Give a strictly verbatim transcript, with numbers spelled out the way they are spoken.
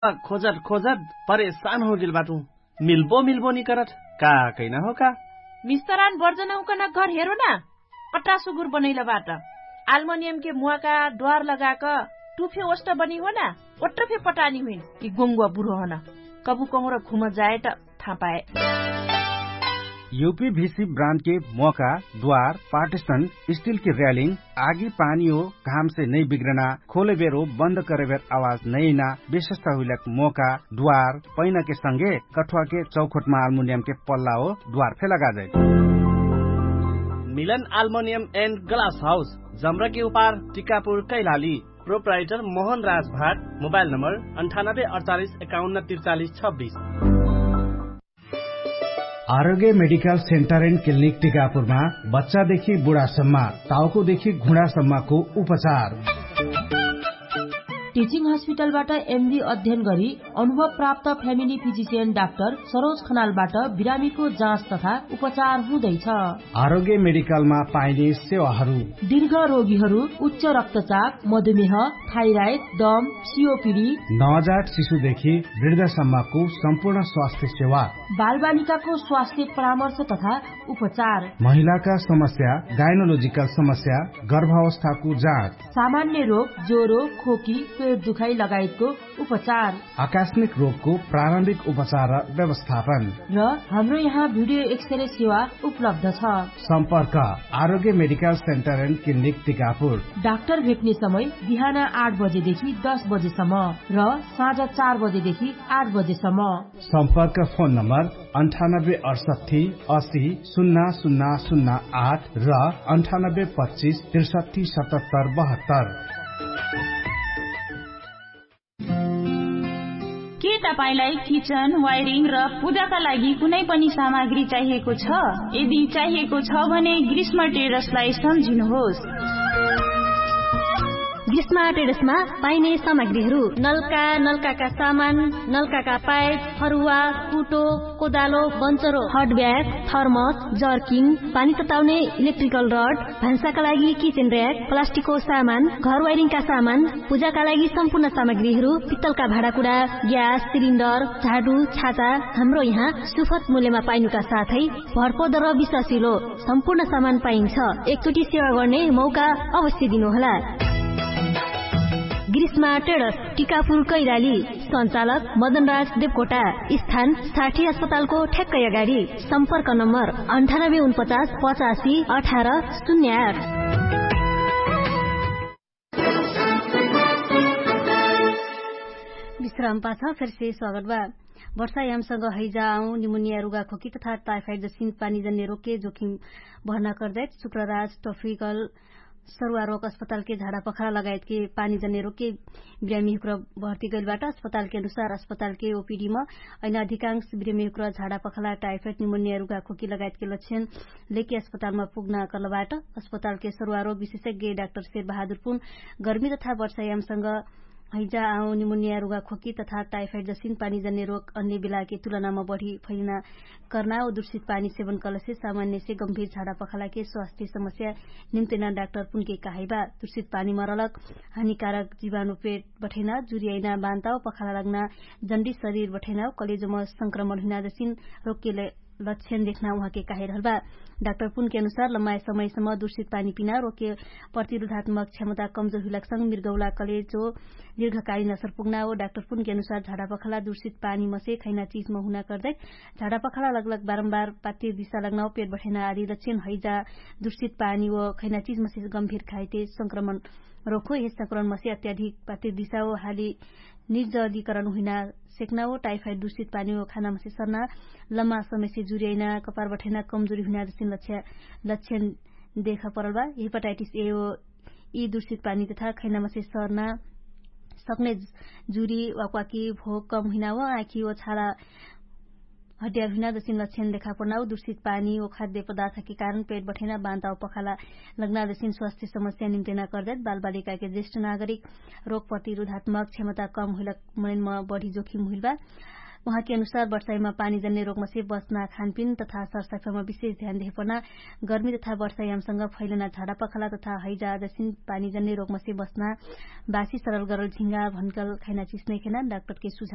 खोजत खोजत परेशान होगेल बाटु। मिल्बो मिल्बो निकरत का कैना हो का? मिस्तरान बर्जन उकन घर हेरो ना। अट्टा सुगुर बनैल बाट। आल्मोनियम के मुवाका द्वार लगाक टुफे ओष्ट बनी हो ना। ओट्ट फे पटानी हुइन। यि गोङ्गुवा बुरो हन। कबु कहुँर घुम जाए त थापाए। युपी भिसी ब्रान्ड के मोका द्वार पार्टिसन स्टिल के र्यालिङ आगी पानी हो घाम से नै बिग्रना खोले बेर हो बन्द करे बेर आवाज नै ना विशेषता हुइलक मोका द्वार पैना के संगे कठुवा के चौखोटमा आल्मुनियम के पल्ला हो द्वार फे लगा जाइत। मिलन आल्मुनियम एन्ड ग्लास हाउस जमरा के उपार टिकापुर कैलाली। प्रोप्राइटर मोहन राज भाट। मोबाइल नम्बर अन्ठानब्बे अडचालिस एकाउन्न तिरचालिस छब्बिस। आरोग्य मेडिकल सेन्टर एन्ड क्लिनिक टिकापुरमा बच्चादेखि बुढासम्म, टाउकोदेखि घुँडासम्मको उपचार। टिचिङ हस्पिटलबाट एमबी अध्ययन गरी अनुभव प्राप्त फ्यामिली फिजिसियन डाक्टर सरोज खनालबाट बिरामीको जाँच तथा उपचार हुँदैछ। आरोग्य मेडिकलमा पाइने सेवाहरू। दीर्घ रोगीहरू, उच्च रक्तचाप, मधुमेह, थाइराइड, दम, सिओपिडी, नवजात शिशुदेखि वृद्धसम्मको सम्पूर्ण स्वास्थ्य सेवा। बालबालिकाको स्वास्थ्य परामर्श तथा उपचार। महिलाका समस्या, गाइनोलोजिकल समस्या, गर्भावस्थाको जाँच। सामान्य रोग, ज्वरो, खोकी, पेट दुखाइ लगायतको उपचार। आकस्मिक रोगको प्रारम्भिक उपचार र व्यवस्थापन। र हाम्रो यहाँ भिडियो एक्सरे सेवा उपलब्ध छ। सम्पर्क Arogya medical centre and clinic Tikapur. Doctor भेट्ने समय बिहान आठ बजेदेखि दस बजेसम्म र साँझ चार बजेदेखि आठ बजेसम्म। सम्पर्क फोन नम्बर अन्ठानब्बे अडसट्ठी असी सुन्ना सुन्ना सुन्ना आठ र अन्ठानब्बे पच्चिस त्रिसट्ठी सतहत्तर बहत्तर। के तपाईंलाई किचन वायरिङ र पूजाका लागि कुनै पनि सामग्री चाहिएको छ? यदि चाहिएको छ भने ग्रीष्म टेरसलाई सम्झिनुहोस्। ग्रीष्म टेरसमा पाइने सामग्रीहरू नलका, नलकाका सामान, नलकाका पाइप, फरुवा, कुटो, कोदालो, बन्चरो, हटब्याग, थर्मस, जर्किङ, पानी तताउने इलेक्ट्रिकल रड, भान्साका लागि किचेन र्याक, प्लास्टिकको सामान, घर वाइरिङका सामान, पूजाका लागि सम्पूर्ण सामग्रीहरू, पित्तलका भाँडाकुडा, ग्यास सिलिन्डर, झाडु, छाता, हाम्रो यहाँ सुफत मूल्यमा पाइनुका साथै भरपद र विश्वासिलो सम्पूर्ण सामान पाइन्छ। एकचोटि सेवा गर्ने मौका अवश्य दिनुहोला। ग्रीष्मा टेडस, टिकापुर कैराली। सञ्चालक मदनराज देवकोटा। स्थान साठी अस्पतालको ठ्याक्कै अगाडि। सम्पर्क नम्बर अन्ठानब्बे उनपचास पचासी अठार शून्य आठ। विश्राम पाछ फेरसे स्वागत बा। वर्षायामसँग हैजा आउँ निमुनिया रुगाखोकी तथा टाइफाइड जसिन पानीजन्य रोगके जोखिम भर्ना कर्दैत शुक्रराज टफिकल सरुवा रोग अस्पतालके झाडा पखला लगायतके पानीजन्य रोगके बिरामीहुक्र भर्ती गैलबाट। अस्पतालके अनुसार अस्पतालके ओपिडीम अइन अधिकांश बिरामीहुक्र झाडा पखला टाइफाइड निमुनिया रुगाखोकी लगायतके लक्षण लेके अस्पतालमा पुग्ना कलबाट। अस्पतालके सरुवा रोग विशेषज्ञ डाक्टर शेर बहादुर पुन गर्मी तथा वर्षायामसँग हैजा आउँ निमुनिया रुगाखोकी तथा टाइफाइड जसिन पानीजन्य रोग अन्य बिलाके तुलनामा बढी फैलिना कर्ना व दुर्शित पानी सेवन कलसे सामान्यसे गम्भीर झाडा पखलाके स्वास्थ्य समस्या निम्तेना डाक्टर पुनके कहाइबा। दुर्शित पानी मरलक हानिकारक जिवानु पेट बठैना जुरियाइना बान्ताव पखला लग्ना जन्डी शरीर बठैनाव कलेजोमा संक्रमण हुइना जसिन रोगके लक्षण देखना उहाँके काहे रहलबा। डाक्टर पुनके अनुसार लम्बाए समयसम्म दुर्शित पानी पिना रोगके प्रतिरोधात्मक क्षमता कमजोर हुइलाक्संग मिर्गौला कलेजो दीर्घकालीन असर पुग्ना हो। डाक्टर पुनके अनुसार झाडा पखला दुर्शित पानी मसे खैना चिजमा हुना कर्दै झाडा पखला लगलग बारम्बार पातिर दिशा लग्ना हो पेट बठैना आदि लक्षण हैजा दुर्शित पानी हो खैना चिजमसे गम्भीर खाइते संक्रमण रोखो यस संक्रमण मसे अत्याधिक पातिर दिशा हो हाली निर्जलीकरण हुइना सेक्ना हो टाइफाइड दुर्शित पानी हो खाना मसे सर्ना लम्मा समयसे जुरियाइना कपार बठैना कमजोरी हुइना जसिन लक्षण देखा परल बा। हेपाटाइटिस ए हो यि दुर्शित पानी तथा खैना मसे सर्ना सक्ने जुरी वाकवाकी भोग कम हुइना हो आँखी हो छाला हड्या हुइना जसिन लक्षण देखा पर्ना हो दुर्शित पानी हो खाद्य पदार्थके कारण पेट बठैना बान्ता हो पखाला लग्ना जसिन स्वास्थ्य समस्या निम्तेना कर्दैत बालबालिकाके जेष्ठ नागरिक रोग प्रतिरोधात्मक क्षमता कम हुइला मनैनमा बढी जोखिम हुइल बा। उहाँके अनुसार वर्षाइमा पानीजन्ने रोगमसे बच्ना खानपिन तथा सरसफाइमा विशेष ध्यान देहेपना गर्मी तथा वर्षाइयामसँग फैलना झाडापखला तथा हैजा जसिन पानीजन्ने रोगमसे बच्ना बासी सरल गरल झिङ्गा भनकल खैना चिस नैखेना डाक्टरके सुझाव।